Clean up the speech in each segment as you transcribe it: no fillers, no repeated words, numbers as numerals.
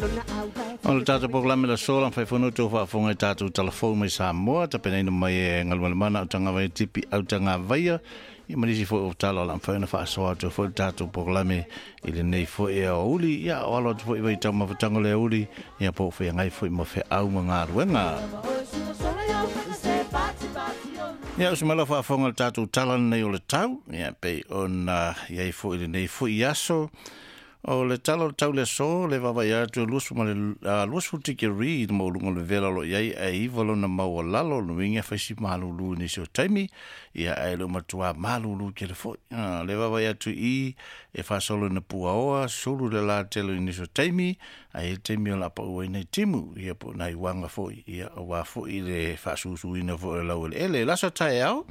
O le tatou polokalame le aso la mafai foi ona outou faafofoga i tatou talafou mai Samoa tapenaina mai e Galumalemana Autagavaia Tipi Autagavaia ia ma nisi foi o tala o le a mafai ona faasoa atu foi le tatou polokalame i lenei foi aoauli ia o alo atu foi vaitaumafataga o le aoauli ia po o feagai foi ma feau ma galuega. Ia usu mai lau faafofoga i le tatou tala lenei o le tau ia pei ona i ai foi i lenei foi aso. O le tala o le tau i le aso, le vaavaai atu e 20 tikeri le maualuga o le vevela o lo o i ai, ae 9 lona maualalo. O lona uiga e fai si malulu i nisi o taimi, ia ae le o matua malulu tele foi. Le vaavaai atu i i, e faasolo ina puaoa, sulu le la tele i nisi o taimi, ae i ai le taimi o le a pau ai nai timu, ia po o nai uaga foi, ia aua foi le faasusuina foi o le laueleele. Le aso taeao,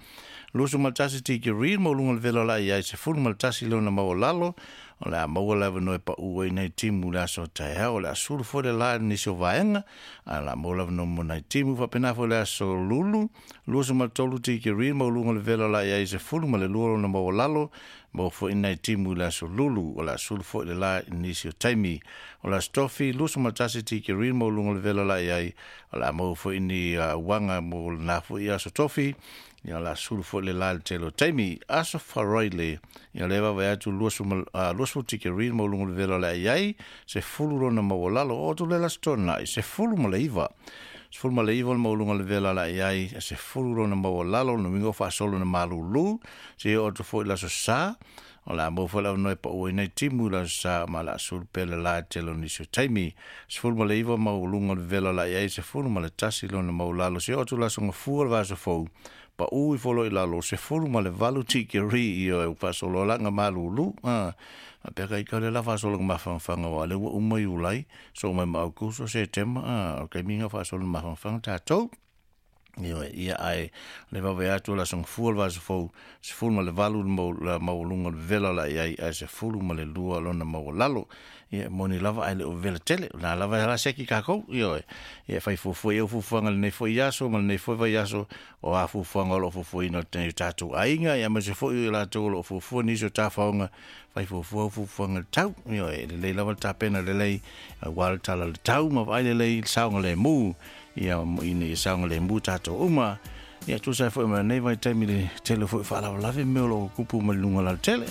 21 tikeri le maualuga o le vela o le a i ai, 11 lona maualalo. O le a maua le avanoa e pau ai nai timu i le aso taeao. O le a sulu foi le la i nisi o vaega, ae o le a maua le avanoa mo nai timu. Faapena foi le aso Lulu, 23 tikeri le maualuga o le vela o le a i ai, 12 lona maualalo. Maua foi nai timu i le aso Lulu. O le a sulu foi le la i nisi o taimi. O le aso Tofi, 21 tikeri le maualuga o le vela o le a i ai. O le a maua foi ni uaga mo lena foi aso Tofi. Ia o le a sulu foi le la i le tele o taimi. Aso Faraile, ia lea e vaavaai atu 20 tikeri le maualuga o le vela o le a i ai, 10 lona maualalo. Oo atu lea i le Aso Toonai, 19. 19 le maualuga o le vela o le a i ai, 10 lona maualalo, lona uiga ua faasolo ina malulu. Seia oo atu foi i le Aso Sa, o le a maua foi le avanoa e pau ai nai timu i le Aso Sa, ma o le a sulu pea le la i le tele o nisi o taimi. 19 maualuga o le vela o le a i ai, 11 lona maualalo. Seia oo atu i le Aso Gafua o le vaiaso fou, pau ifo loa i lalo, 18 tikeri, ioe, ua faasolo la ina malulu. Faapea ka ita o lea o le a faasolo ina mafanafana aua o lea ua uma Iulai, sosoo mai ma Aokuso, Setema, o le taimi lena o faasolo ina mafanafana tatou. Ioe, ia ae o le vaavaai atu o le Aso Gafua o le vaiaso fou, 18 le maualuga o le vevela o le a i ai, ae 12 lona maualalo. Ia e moni lava ae le o vevela tele, o lena lava e ala seki tatou, ioe. Ia e fai fuafua i ai au fuafuaga i lenei foi aso ma lenei foi vaiaso, o a fuafuaga o lo o fuafuaina e o tatou aiga, ia aemaise foi o i latou o lo o fuafua nisi o tafaoga, fai fuafua au fuafuaga i le tau. Ioe, e lelei lava le tapena lelei aua le tala o le tau ma vaai lelei i le saogalemu, ia ina ia saogalemu tatou uma. Ia tusa ai foi ma lenei vaitaimi i le tele foi o faalavelave mea o lo o tupu mai luga o le alatele.